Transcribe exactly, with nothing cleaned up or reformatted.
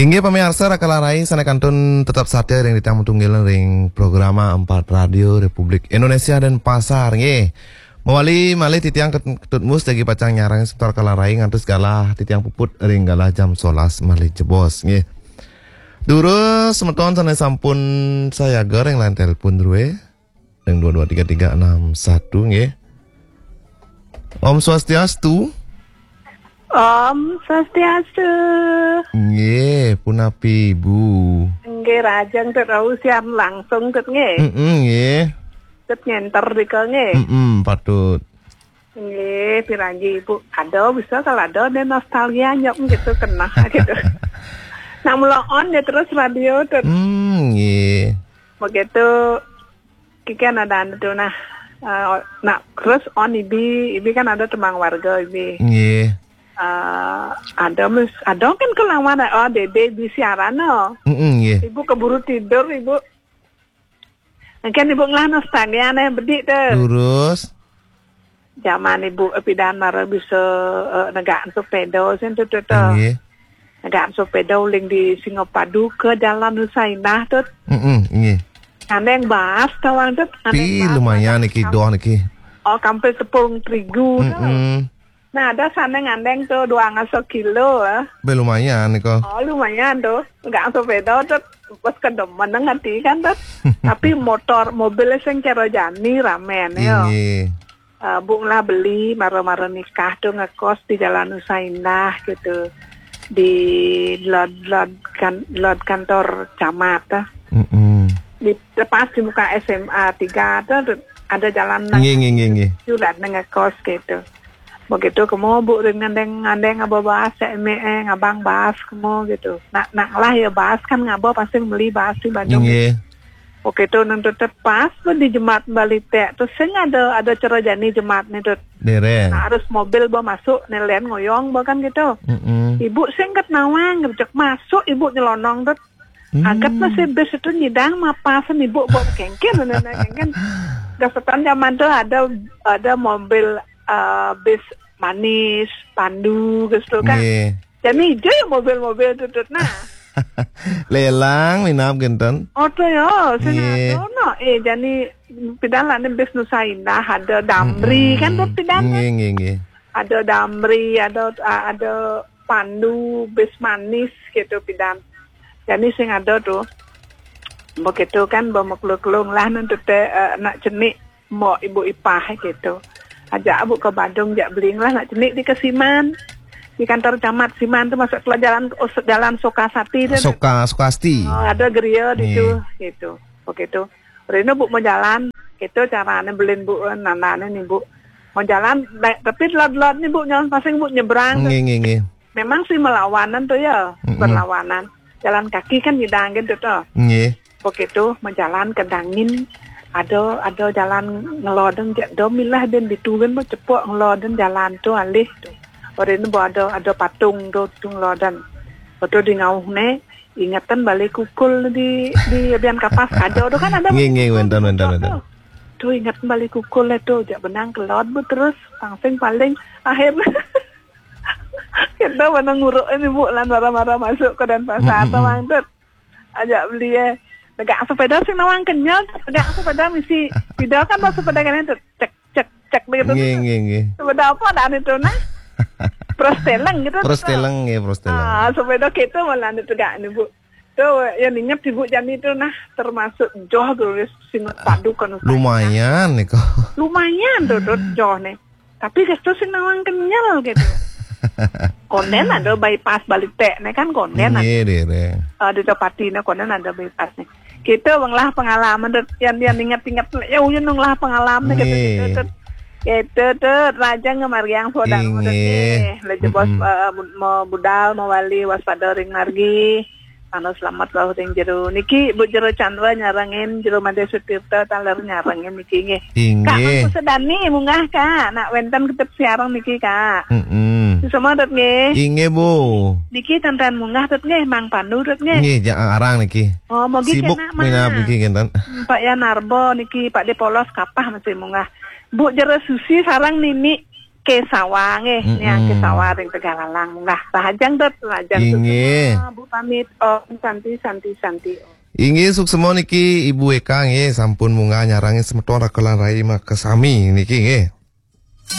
Inggih pamiarsa, Raka Larai sané kantun tetep satia ring titiang matunggil ring programa Empat Radio Republik Indonesia Denpasar, nggih. Mawali malih titiang Ket-, Ketut Mus jagi pacang nyarengin semeton Raka Larai ngantos galah titiang puput ring galah jam solas malih jebos, nggih. Durus semeton sané sampun sayaga ring line telepon drué. Yang dua dua tiga tiga enam satu, nggih. Om Swastiastu. Om Swastiastu. Nggih, punapi Ibu? Nggih, rahajeng Tut, rauh siaran langsung Tut nggih. Mm-mm, nggih. Tut ngenter dika nggih. Mm-mm, patut. Nggih, piranji Ibu. Ada bisa kalau ada deh nostalgia nyok gitu kena gitu. Nah, mula on ya terus radio Tut. Hmm, nggih. Begitu Kiki ada anu tuh nah. Eh, nak terus on ibi, ibi kan ada tembang warga ibi. Nggih. Eh, ada mis, ada kan kelawan oh dede di siaran no. Mm-mm, nggih. Ibu keburu tidur ibu. Mungkin ibu ngelah nostalgia nih bedik tuh. Lurus. Zaman ibu epidan mara bisa eh, negak sepeda sih tuh tuh. Tuh. Nggih. Negak sepeda uling di Singapadu ke Jalan Nusa Indah tuh. Mm-mm, nggih. Ngandeng bas tawang tuh. Pi lumayan niki doh niki. Oh, kampil tepung terigu tuh. Mm-mm. Nah, ada sana ngandeng tuh dua ngasa kilo eh. Be lumayan niko. Oh, lumayan tuh. Negak sepeda tuh. Pas kedemen ngerti kan tuh. Tapi motor, mobil sing cara jani ramen ya. Nggih. Eh, Bu ngelah beli mara-mara nikah tuh ngekos di Jalan Nusa Indah gitu. Di lot lot kan lot kantor camat tuh. Mm-mm. Di lepas di muka S M A tiga tuh ada jalan nang Nggih, nggih, nggih, nggih. Julat nang ngekos gitu. Begitu kemo Bu ring ngandeng-ngandeng aba bahas ya eme eh ngabang bahas kemo gitu. Nak nak lah ya bahas kan ngaba pasti beli bahas di Bandung. Nggih. Oke tuh nang tuh pas pun di Jemat Balitek tuh sing ada ada cara jani Jemat nih tuh. Dereng. Nah, harus mobil bawa masuk nelen ngoyong bawa kan gitu. Mm-mm. Ibu sing ket nawang cek masuk ibu nyelonong tuh. Hmm. Agat masih bis itu nyidang mapasan ibu bawa kengken nana kengken. Gasetan zaman tuh ada ada mobil eh, bis manis, pandu gitu kan. Nggih. Jadi hijau ya mobil-mobil tuh tuh nah. Lelang minab genten. Oh tuh ya, sing Nggih. Ada no. Eh jadi pidan lah nih bis Nusa Indah ada Damri kan tuh pidan. Nggih, nggih, nggih. Ada Damri, ada ada pandu bis manis gitu pidan. Jadi sing ada tuh. Begitu kan bawa meklung-klung lah nanti teh eh, nak cenik mau ibu ipah gitu. Ajak abu ke Badung jak beling lah nak cenik di ke Siman. Di kantor camat Siman tuh masuk ke jalan jalan Sukasati tuh. Suka Sukasti. Oh, ada geria di Nggih. Tuh gitu. Begitu. Rino bu mau jalan, itu caranya belin bu nanane nih bu. Mau jalan, naik, tapi lot-lot nih bu, jalan pasing bu nyebrang. Nggih, nggih, nggih. Memang sih melawanan tuh ya, Mm-mm. Berlawanan. Jalan kaki kan nyidangin tuh tuh. Nggih. Begitu menjalan ke dangin, ada ada jalan ngeloden jak do milah dan ditugen mau cepok ngeloden jalan tuh alih tuh. Orang ini ada ada patung tuh tuh ngeloden. Betul di ngauh ne, ingetan balik kukul di di bian kapas ada tuh kan ada. Nggih, nggih, wenten, wenten, wenten. Tuh ingetan balik kukul le tuh, jak benang kelot bu terus pangsing paling akhir. Kita mana nguruk ini bu lan marah-marah masuk ke Denpasar Mm-mm. Tawang tuh. Ajak beli eh. Tegak sepeda sing nawang kenyal, tegak sepeda misi. Tidak kan bawa sepeda kan itu cek cek cek begitu. Nggih, nggih, nggih. Sepeda apa dah itu nah? Prosteleng gitu. Prosteleng nggih, prosteleng. Ah, sepeda gitu malah itu tegak nih bu. Tuh yang ingat ibu jani itu nah termasuk joh tulis sinut padu kan. Lumayan nih kok. Lumayan tuh tuh joh nih. Tapi geus tuh sing nawang kenyal gitu. Konden ada bypass balik tek nih kan konden ada. Nggih, deh, deh. Eh, di Tepati nih konden ada bypass nih. Kita bang lah pengalaman tuh yang dia inget-inget ya uyun nung lah pengalaman gitu Nggih. Gitu tuh. Gitu tuh raja ngemariang sodang Inggih. Deh. Leje bos Mm-mm. Eh, bu- mau budal mau wali waspada ring margi. Anu selamat rauh ring jero. Niki Bu Jero Chandra nyarengin, Jero Made Sutirta taler nyarengin niki nggih. Inggih. Kak Mangku Sedani munggah Kak, nak wenten ketep siareng niki Kak. Mm-mm. Semua dot nggih. Inggih Bu. Niki tenten munggah dot nggih, Mang Pandu dot nggih. Nggih, ja- arang niki. Oh, mogi Sibuk kena, Mang. Minab niki kinten. Pak Yanarbo niki, Pak Depolos kapah masih munggah. Bu Jero Susi sarang Nini. Ke sawah nggih, Mm-mm. niang ke sawah ring Tegalalang. Lah, rahajeng dot, rahajeng Inggih. Suksma, Bu pamit, Om Santi, Santi, Santi, Om. Inggih, suksma niki Ibu Eka nggih, sampun munggah nyarengin semeton Raka lan Rai makasami niki nggih.